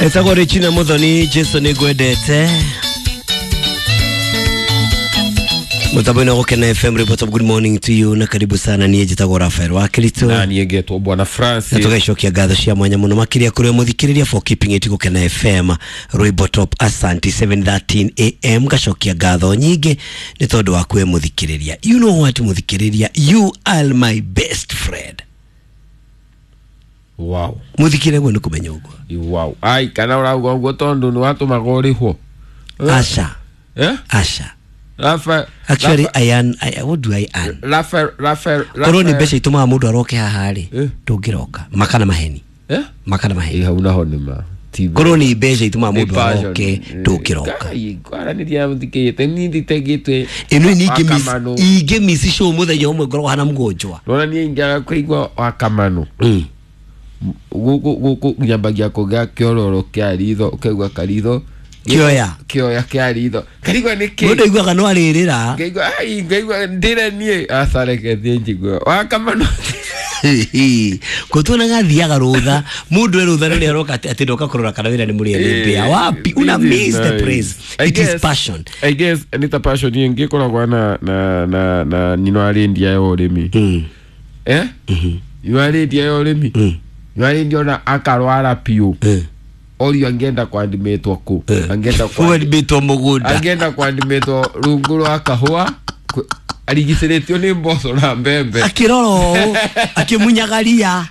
Etagwo Regina Muthoni, Jesu nĩ ngwendete. Mutambo-inĩ wa Gũkena FM, report of good morning to you na karibu sana. Niĩ njĩtagwo Rafael wa Kirito na niĩ ngetwo Bwana na Francis. tũgacokia ngatho cia mwanya mũno makĩria kũrĩ mũthikĩrĩria for keeping it Gũkena FM Rwĩmbo Top. Asanti. 7:13 am, ngacokia ngatho nyingĩ nĩ tondũ waku we mũthikĩrĩria. You know what, mũthikĩrĩria, you are my best friend. Wow. Mũthikĩrĩria, guo nĩ kũmenya ũguo. Wow, ai, kana ũrauga ũguo tondũ nĩ watũmaga ũrĩhwo? Aca. Eh? Aca. Rafael. Actually, I earn, what do I earn? Rafael, Rafael. Korwo nĩ mbeca itũmaga mũndũ aroke haha rĩ, Eh. ndũngĩroka makana maheni. Eh. Makana maheni. Ĩ, hau naho nĩ ma ti. Korwo nĩ mbeca itũmaga nĩ mũndũ passion. aroke, ndũngĩroka. Ngai, kwaranĩria mũthikĩrĩte niĩ nditegĩtwe. Ĩno nĩ Wakamano. ingĩ miss show mũthenya ũmwe ngoragwo hana mũgonjwa. Rora, niĩ ingĩaga kũigua wakamano gũkũ gũkũ nyambagia kũgĩa kĩororo kĩa ritho, ũkaigua karitho. Kĩoya. Kĩoya kĩa ritho, karigua nĩ kĩ. Mũndũ aiguaga no arĩrĩra. Ngaigua ai, ngaigua ndĩre niĩ acareke thiĩ njigue wakamano. Kũtuonaga athiaga rũtha, mũndũ e rũtha rĩrĩa aroka atĩ ndoka kũrora kana wĩra nĩ mũrĩe nĩ mbĩa wapi. Una miss the praise. It is passion. I guess nĩ ta passion ĩngĩ ĩkoragwo na nyino arĩndia ya ũrĩmi. Eh, nyino arĩndia ya ũrĩmi, nyino arĩndia ona akarwara piũ. Orio angĩenda kwandimĩtwo kũ angĩenda Wendĩtwo mũgũnda. Angĩenda kwandimĩtwo rungu rwa kahũa arigicĩrĩtio nĩ mboco na mbembe. Akĩrora ũũ akĩmunyaga ria.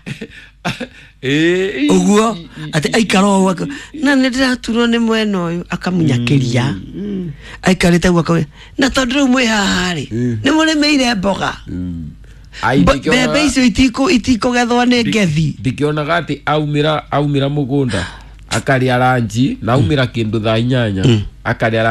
Ĩĩ, Ũguo atĩ aikara ũũ na nĩ ndĩraturwo nĩ mwena ũyũ, akamunyakĩria aikarĩte guo akauga, na tondũ rĩu mwĩ haha rĩ, nĩ mũrĩmĩire mboga. Ai, Mbembe icio itikũgethwo nĩ ngethi. Ndikĩonaga atĩ aumĩra mũgũnda akarĩa ranji na aumĩra kĩndũ thaa 8 akarĩa.